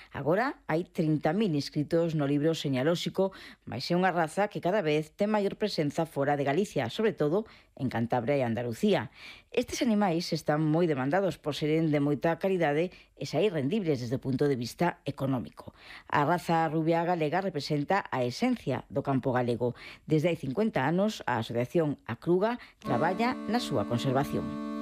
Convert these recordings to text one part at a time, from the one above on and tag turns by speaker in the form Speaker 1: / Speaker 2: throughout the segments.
Speaker 1: Agora hai 30.000 inscritos no libro señalóxico, mais é unha raza que cada vez ten maior presenza fora de Galicia, sobre todo en Cantabria e Andalucía. Estes animais están moi demandados por seren de moita calidade e sair rendibles desde o punto de vista económico. A raza rubia galega representa a esencia do campo galego. Desde hai 50 anos, a Asociación Acruga traballa na súa conservación.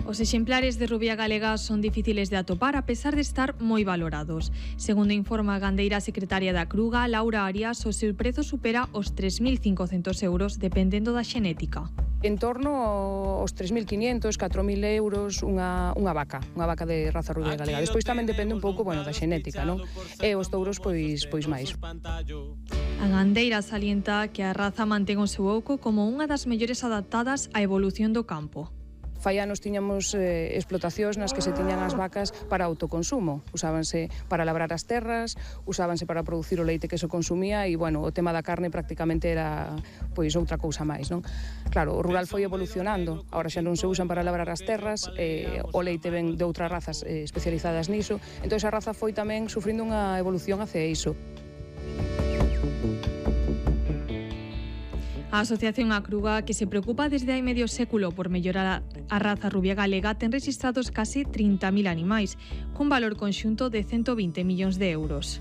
Speaker 2: Os exemplares de rubia galega son difíciles de atopar a pesar de estar moi valorados. Segundo informa a gandeira secretaria da Acruga, Laura Arias, o seu prezo supera os 3.500 euros dependendo da xenética.
Speaker 3: En torno aos 3.500, 4.000 euros unha vaca de raza rubia galega. Despois tamén depende un pouco, da xenética, non? E os touros pois máis.
Speaker 2: A gandeira salienta que a raza mantén o seu oco como unha das mellores adaptadas á evolución do campo.
Speaker 3: Fai anos tiñamos explotacións nas que se tiñan as vacas para autoconsumo. Usábanse para labrar as terras, usábanse para producir o leite que se consumía e, o tema da carne prácticamente era outra cousa máis, non? Claro, o rural foi evolucionando, agora xa non se usan para labrar as terras, o leite ven de outras razas especializadas niso, entón a raza foi tamén sufrindo unha evolución hacia iso.
Speaker 2: A Asociación Acruga, que se preocupa desde hai medio século por mellorar a raza rubia galega, ten registrados case 30.000 animais, cun valor conxunto de 120 millóns de euros.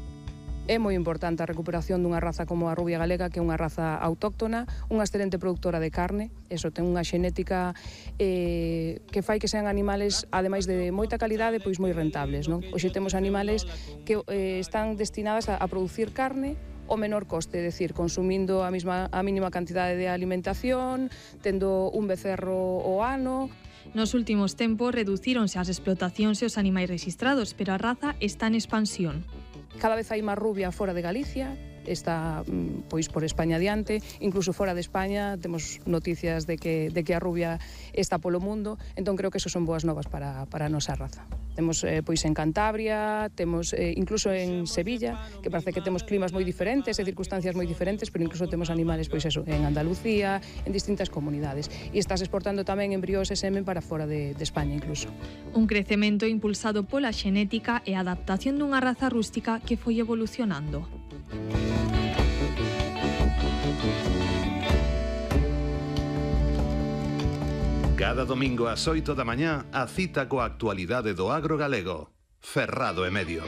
Speaker 3: É moi importante a recuperación dunha raza como a rubia galega, que é unha raza autóctona, unha excelente productora de carne, ten unha xenética que fai que sean animales, ademais de moita calidade, moi rentables, non? Hoxe temos animales que están destinadas a producir carne o menor coste, é dicir, consumindo a mínima cantidade de alimentación, tendo un becerro ao ano.
Speaker 2: Nos últimos tempos reducíronse as explotacións e os animais registrados, pero a raza está en expansión.
Speaker 3: Cada vez hai máis rubia fora de Galicia, está por España adiante, incluso fora de España temos noticias de que a rubia está polo mundo, entón creo que eso son boas novas para a nosa raza. Temos en Cantabria, temos incluso en Sevilla, que parece que temos climas moi diferentes e circunstancias moi diferentes, pero incluso temos animales en Andalucía, en distintas comunidades. E estás exportando tamén embrións e semen para fora de España incluso.
Speaker 2: Un crecemento impulsado pola xenética e a adaptación dunha raza rústica que foi evolucionando.
Speaker 4: Cada domingo ás 8 da mañá, a cita coa actualidade do agro galego. Ferrado e Medio.